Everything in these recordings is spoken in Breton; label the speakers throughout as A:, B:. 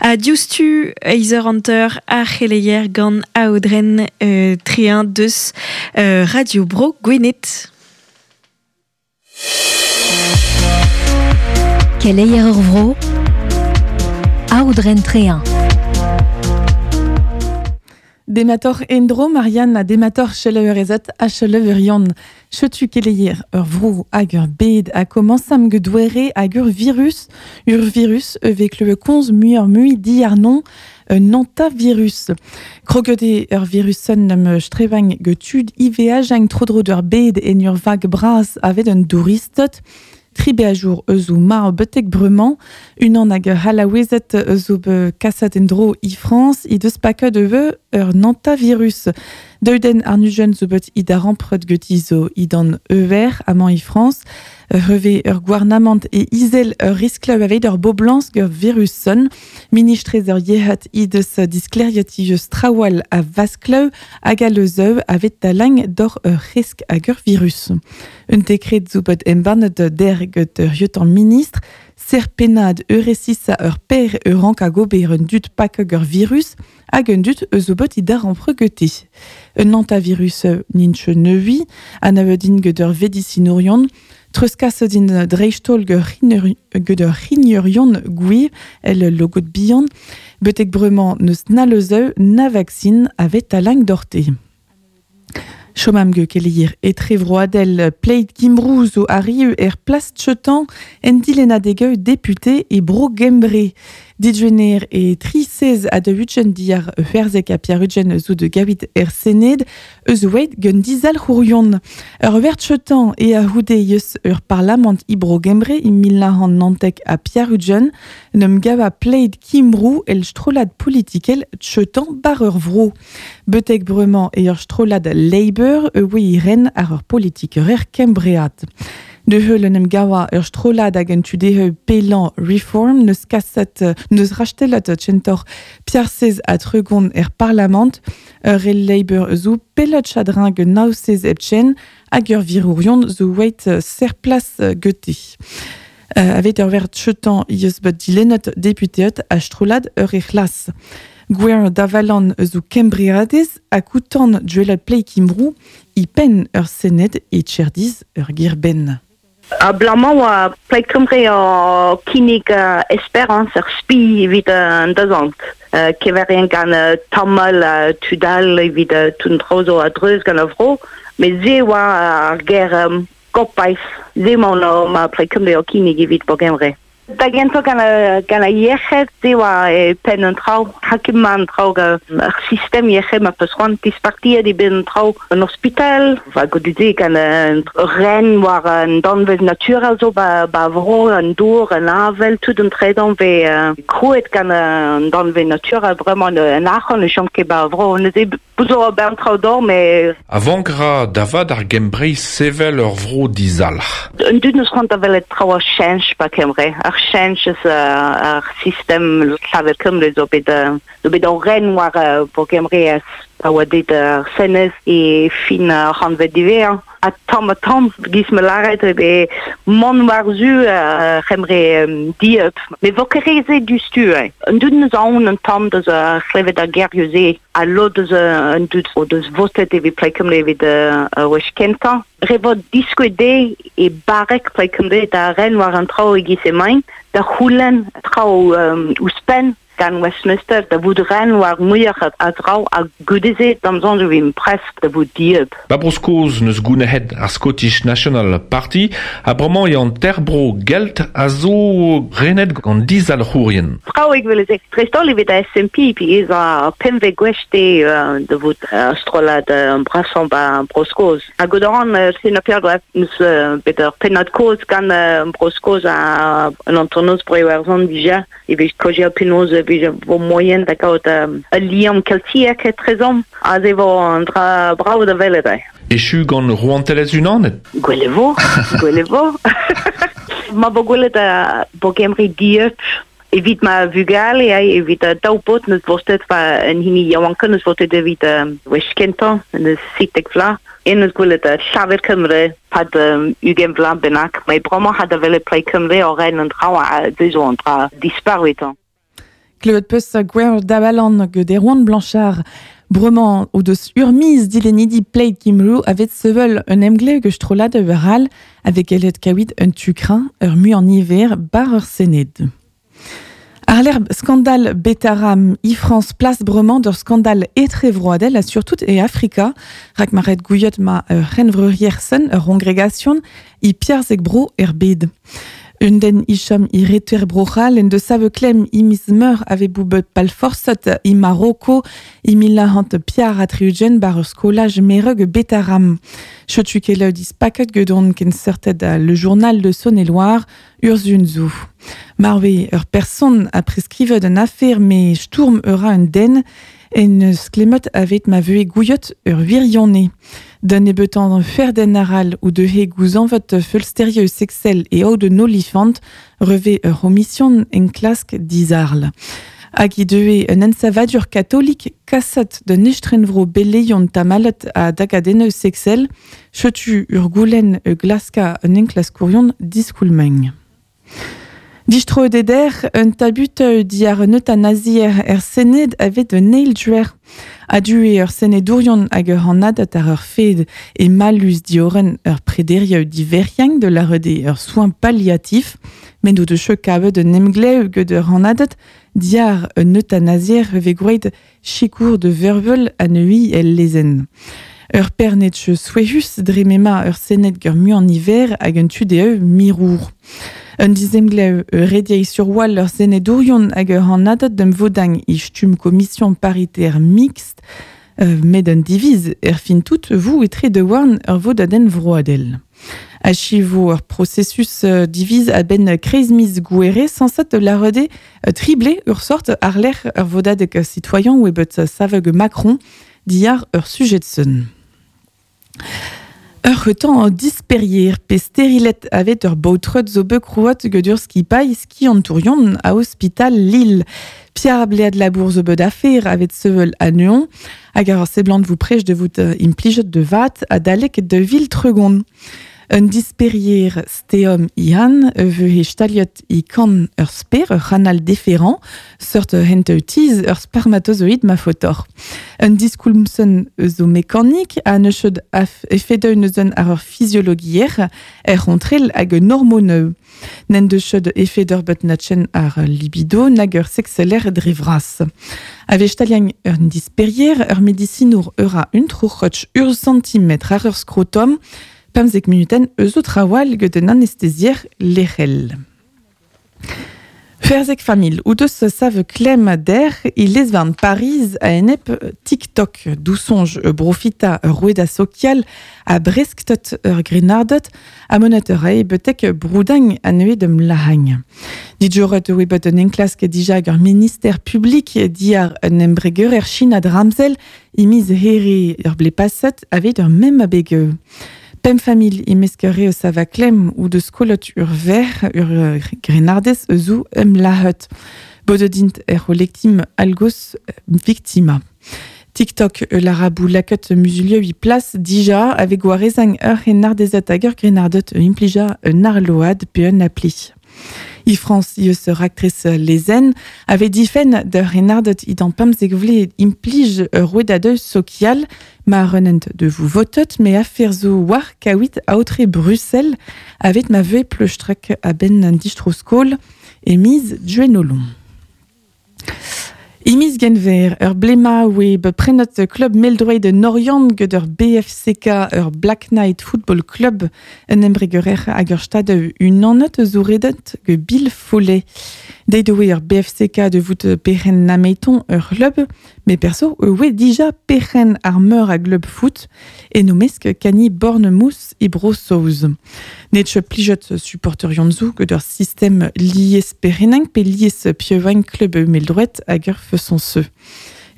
A: Ha diouzhtu eizh eur hanter ar c'heleier gant Aodren euh, Tréhin deus euh, Radio Bro Gwened.
B: Keleier ur vro, Aodren Tréhin.
C: Demator endro Marianne ha demator cheleurezet ha cheleurion. Chetu keleier ur vro hag ur bed a komañsam get doere hag ur virus. Ur virus evek le konz muioc'h mui diàrnon un antavirus. Kroget eo ur virusenn am strevagn get tud IVH hag tro-dro d'ur bed en ur vag bras avet un douristed. Tri beajour eus o marv betek bremañ, unan hag ur C'hallaouezed eus o bet kaset en-dro e Frañs he deus paket ivez ur nantavirus. Daou den arnujenn zo bet he darempred ganti zo dindan euver amañ e Frañs. Hervez ur gouarnamant e izel ur riskl aveit ur boblañs gant virusenn. Ministrez ur yec'hed he deus disklêriet ivez trawal a vasklev hag a leuzeu aveit talañ doc'h ur c'hresk hag ur virus. Un dekred zo bet embannet der get ur lieutenant ministr, ser pennad euresisa ur per ur rank hag ober un dud pak ur virus hag un dud eus o bet he darempred gete. Un antavirus n'int neui, anavet int get ur vedisinourion, treuzkaset int dreist-holl get ur c'hrignerion gwir el logod bihan, betek bremañ n'eus na leuzeu na vaksin avet talañ doc'hte. Chom am keleier etrevroadel Plaid Cymru zo arriv er plas chetan en dilennadegeu depute e Bro Gembre. Digener e tri sez a de ugent diar c'hwerzek ha piar-ugent zo de gavit er Sened eus oeit gant dizalc'hourion. Ur wert chetan e a houde eus ur parlament e Bro Gembre e 1990 ha piar-ugent n'em gava Plaid Cymru el strollad politikel chetan bar ur vro. Betek bremañ e ur strollad Labour e oe ren ar ur politiker kembreat. De heul en em gawa ur strollad hag un tudeheu pellañ Reform neus kaset neus rastelet tchentor piarsez a tregon er parlament ur el Labour zo pellet chadrin ge nausez epchen hag ur virourion zo wait ser plas gete. Avet ur ver chetan eus bet dilennet deputeet a strollad ur e c'hlas. Gwer davalan eus o kembreadez a koutan duelat Plaid Cymru i penn ur sened e tcherdiz ur girben.
D: Abalamour oa Plaid Cymru o kinnig esperañs ur spi evit an dazont. Keverien gant tamall ha tud all evit tout an traoù zo a-dreuz gant ar vro. Met se oa ar ger gopaif. Se emaon ma Plaid Cymru o kinnig evit Bro Gembre. Da gentañ gant gant ar yec'hed, se oa e penn an traoù. Ha ket mat an traoù gant ar sistem yec'hed ma peus c'hoant dispartiet eo bet an traoù en ospital. Va goude-se gant ur ren war an danvez naturel zo ba, ba vro, an dour, an avel, tout an tredan vez krouet gant an danvez naturel bremañ an arc'hant ne chom ket ba vro. Neuze bout zo ober an traoù d'or, met...
E: A vank ra da vat ar Gembreiz sevel ur vro dizalc'h.
D: An dud neus c'hoant da welet traoù a cheñch ba Kembre. Ar cheñch eus ar sistem Llafur Cymru zo bet zo bet o ren war Bro Gembre pa oa bet ar Senez e fin ar c'hantved diwezhañ. Ha tamm ha tamm, giz ma lâret, eo bet mont war-zu ar C'hembre dieub. Met vo ket re se diouzhtu. An dud neus aon un tamm deus ar c'hlevet ar gerioù-se. Ha lod eus an dud o deus votet evit Plaid Cymru evit ar wech kentañ. Re vo diskouez dezhe e barrek Plaid Cymru da ren war an traoù e-giz emaint, da c'houlenn traoù ouzhpenn gant Westminster da vout ren war muioc'h a draoù ha goude-se d'am soñj e vimp prest da vout dieub.
E: Ba Bro-Skos n'eus gounezet ar Scottish National Party ha bremañ eo an teir-bro gelt a zo renet gant dizalc'hourien.
D: Traoù evel-se. Dreist-holl evit ar SNP, pi ez a pemvet gwech te da vout ar strollad brasañ ba Bro-Skos. Ha goude an Sina Peadra neus bet ur pennad-kozh gant Bro-Skos ha an hanternoz Bro-Iwerzhon dija evit kaozeal penaos e vije vo moaien da gaout ul liamm keltiek etrezomp. Aze vo an dra brav da welet eo.
E: Echu gant Rouantelezh Unanet?
D: Gwell e vo, gwell e vo. Ma vo gwelet bo Gembre dieub evit ma vugale, evit daou paotr neus votet pa un hini yaouankañ neus votet evit wech kentañ, neus 17 vloaz. En neus gwelet Llafur Cymru pad 20 vloaz bennak. Met bremañ ha da welet Plaid Cymru o ren an traoù ha se zo an dra dispar evitañ.
C: Klevet peus gwer dabalan gant Erwan Blanchard. Bremañ o deus ur miz dilennidi Plaid Cymru avet sevel un emglev gant strollad ur all avec gellet kaouit un tu-kreñv ur mui an niver bar ur Sened. Ar l'erb skandal Betaram i France place bremañ d'ur skandal etrevroadel ha surtout e Afrika, rak ma ret gouiet ma ur c'henvreuriersen ur congregation i piarzek bro er bed. Un den ichom i reter brochal en de save klem i mis meur ave boubet palforsat i Maroko i milahant piar a triugen bar ur skolaj mereg Betaram. Chetu ket dis paket gedon ken serted le journal de Saône-et-Loire urzunzu. Marwe ur person a preskrivet un affaire me sturm ura un den en sklemet avet ma veue gouiot ur virionne. D'un ebetan fer den aral ou de he gouzanvet feulsterieux sexel et o de nolifant reve ur omission en klask dizarl. Hag i deue un ensavadur katolik kasat de nestrenvro beleion tamalet a dagadenneu sexel, chetu ur goulen e glaska un enklaskourion diskoulmeng. Distro deder un tabut diar un eutanazier er sened avet un eil-duer. A due ur senedourion hag ur anadat ar ur fed e malus dioren ur prederia diveriang de la rede ur soin palliatif, men do de cheu kavet un emglev ged ur anadat diar un eutanazier ve groet chikour de vervel a neui el lezen. Ur pernetche souehus dre mema ur senet gur mu an hiver hag un tu de mirour. Un dizemglev rediei sur wal ur senedourion hag ur anadat d'em vodang i stum commission paritaire mixte, met un diviz er fin tout vous etre de warn ur vodaden vroadel. Achivo ur processus diviz a ben kreizmiz gouere sansat la rede triblé ur sort ar lec'h ur vodadeg citoyen ou ebet saveg Macron diar ur sujet sun. Ur retan disperier pe sterilet avet ur baotrot zo bet krouat gedur ski paille ski antourion a hospital Lille. Pierre Bléa de la Bourse zo bet affaire avet sevel a nuon, hag ar seblant vous prech de vout implijet de vat a dalek de vil tregon. Un disperier steom ihan veu he staliot i kan ur sper, ur c'hanal différent, seurt hent tiz ur spermatozoïd ma fotor. Un diskoulmsen zo mekanik a neused efedeun eus ar ur physiologier er rontrel hag un hormoneu. Nen de chod efed ur bet natchen ar libido nag ur sexeler dre vras. Ave staliang ur disperier ur medicinour ur a un trouc'hotch ur centimetre ar ur scrotum, pemzek minuten eus o trawal gant un anesthésier lec'hel. Ferzek famil, ou deus save klem der i lezvarn Pariz a enep TikTok, dou sonj e brofita ur roueda sokial a bresktot ur grenardet a monet ur ae betek broudang a neue dem lahagn. Dijoret oe bet un enklask dija ur ministère public diar un embreger er China dramzel i miz here ur ble passet avet ur mem abegeu. Pem famil imesk ur eus a va klem ou de skolot ur ver ur grenardez eus em lahut. Bododint er lectim algos victima. TikTok l'arabou laket musulieu i place dija avec gwarezang ur renardezet hag ur grenardet implija un arload pe un appli. I France i eus ur actrice lezen avait difen de renardet i dan pemzek vle implij ur rouedadeu sokial ma renent de vous votot me affaire zo war kawit aotre Bruxelles avet ma vue pleustrek a ben an distroskol e miz duenolon. Imiz genver, ur blema oe beprenot club meldroid de Noriant gant ur BFCK ur Black Knight Football Club un embregerer hag ur stad un annet zo redet ge Bill Follet. Deit oe ur BFCK de vout peren nameiton ur club, me perso oe dija peren ar meur a glub foot e nomesk kani Bornemousse e Bro-Saoz. Netche plijot supporter yonzou gant ur system lies perenang pe lies pieuvain club meldroet hag ur feson se.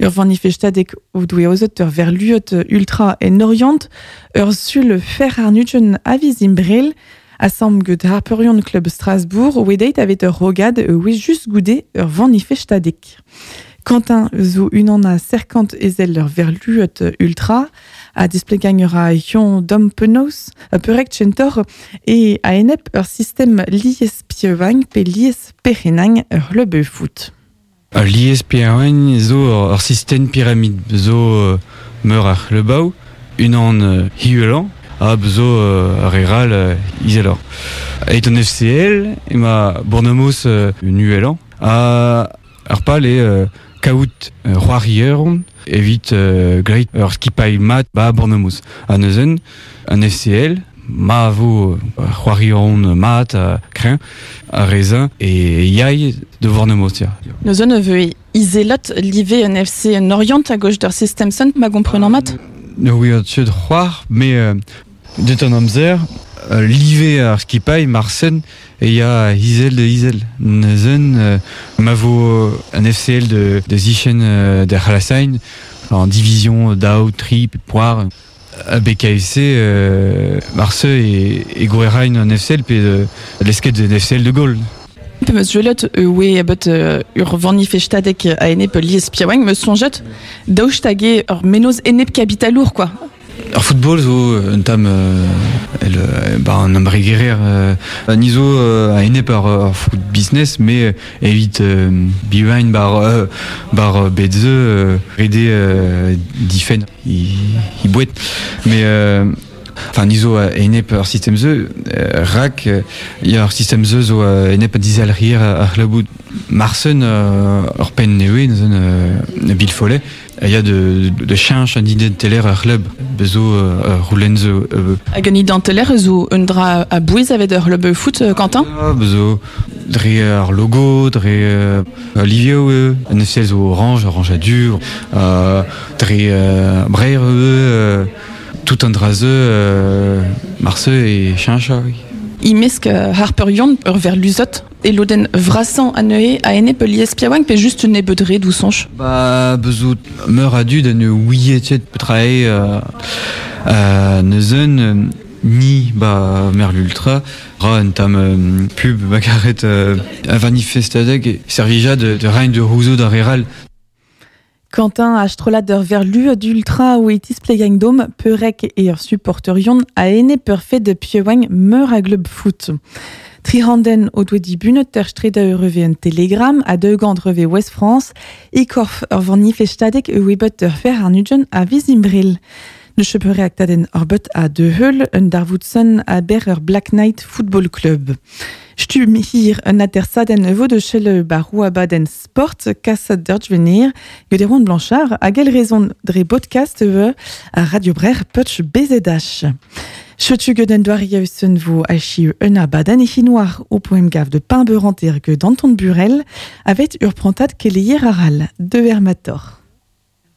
C: Ur vanifestadek o doe ozet ur verluot ultra en Orient, ur sul fer ar nudjen aviz imbrel, asam get Harperion Club Strasbourg, oe deit avet ur rogad oe just goude ur vanifestadek. Quentin zo unan a serkant ezel ur verluot ultra, a displegang ur a hion dom penaos, a perek chentor, e a enep ur system lies pieuvain pe lies perenang ur club foot.
F: Al liez piaouagn zo ur sistem pyramid zo meur ar c'hlebaou, unan hiuelañ, ha zo ar re ral izeloc'h. Eit an FCL ema Bournemouth nuelañ, ha ar pal eo kaout c'hoarieron evit greit ur skipailh mat ba Bournemouth. Ha neuzen, an FCL, ma vo c'hoarieron mat kreñv, ar reza e yai de Bournemouth. Ya.
C: Neuzen e veu izelot live an FC en Orient a gauche d'ur system son, ma gomprenant mat?
F: Ne ouiot ket c'hoar, me deut an amzer, live ar skipailh marsen e ya izel de izel. Neuzen, ma vo an FCL de zichen de C'halasain, en division daou, tri, pe poar, a BKFC, marse e gouerain an FCL pe lesket de FCL de Gaulle.
C: Pe meus juelot oe bet ur vanifestadek a enep liez piaoueng, meus sonjet daoust hag eo ur menoz enep kapitalour, quoi.
F: Ar football zo un tamm el ba an embregerer ni zo a enep ar foot business, me evit bivain bar bet ze rede difen i bouet. Mais enfin, ni zo enep ar sistem ze, rak ya ar sistem ze zo enep dizalrier ar c'hlabout marsen ur penn newe neuzen Bill Follet, ya de cheñch an identeler ar c'hlub bezo roulen zo
C: Hag an identeler zo un dra a bouez avet ur c'hlub foot, Quentin?
F: Ah, bezo dre ar logo, dre livio an FCL zo orange, orange a dur, dre breir tout an dra ze marse e cheñcha, oui.
C: Imesk Harper Yon ur ver luzot e loden vrasan aneuhe a enep liez piaoueng pe just un ebedre dou sonch?
F: Ba bezo meur a dud an ouietet petrae neuzen ni ba mer l'ultra ra un tam pub bakaret a vanifestadeg servija de rein de rouzo da reral.
C: Quentin a strollad ur verlu d'ultra ou etis plegeng dom peurek e ur supporterion a ene peurfet de piaoueng meur a glub foot. Trihanden o doe dibunet ter streda ur reve un telegram a deux gant reve West France e korf ur vanifestadeg e webet ur fer ar nujen a vizimbril. Ne chepeure aktaden ur bet a de heul un darvoutsen a ber ur Black Knight Football Club. Stum hir un atersaden vo de chele barou abaden sport kassad d'urj venir gant Erwan Blanchard a gel rezon dre podcast e a Radio Brer Putch BZH. Chetu gant un doare yaousen vo achi un abaden e chinoir o poem gav de pain beuranter ge d'Anton Burel avet ur prantad keleier aral de Hermator.